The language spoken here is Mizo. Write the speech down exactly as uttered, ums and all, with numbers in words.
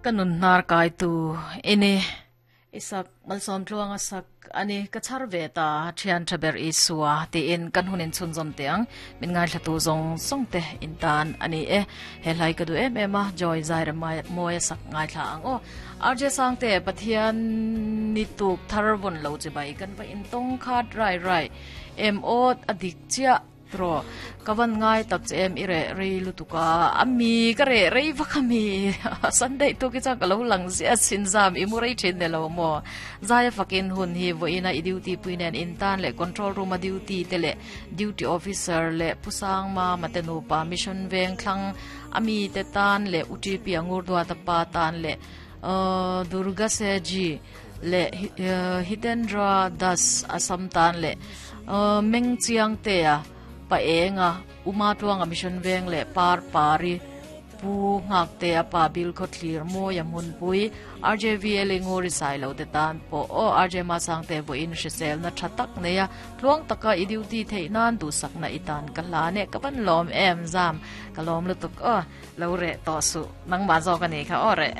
Kanun nar kai tu ini isak malsom tluanga sak ani ka char ve ta thian thaber isua ti in kan hunin chun zom teang min ngai thlatu zong song te in tan ani e he lai ka du em em a joy zai ra mai moya sak ngai thla ang o R J sang te Pathian ni tuk thar von lo che bai kan va in tong khat rai rai em o adik chia tro kawan ngai tak che em ire rei lutuka ami ka re rei vakami Sunday to ki cha ka lo lang zia sin zam i mu rei thin ne lo mo zaya fakin hun hi voina i duty puinen in tan le control room a duty te le duty officer le pusang ma matenu pa mission veng thlang ami te tan le U T P angur dua ta pa tan le uh, Durga Seji le uh, Hitendra Das Asam tan le uh, Meng Chiang te a pa enga uma tuanga mission veng le par pari pu ngak te a pa bil kho thlir mo ya mun pui R J V L ngori sai lo te tan po o R J ma sang te bo in hrisel na thatak ne ya tluang taka i duty thei nan du sak na itan ka la ne ka ban lom em zam ka lom lu tuk o lo re to su nang ma zo ka ni kha o re.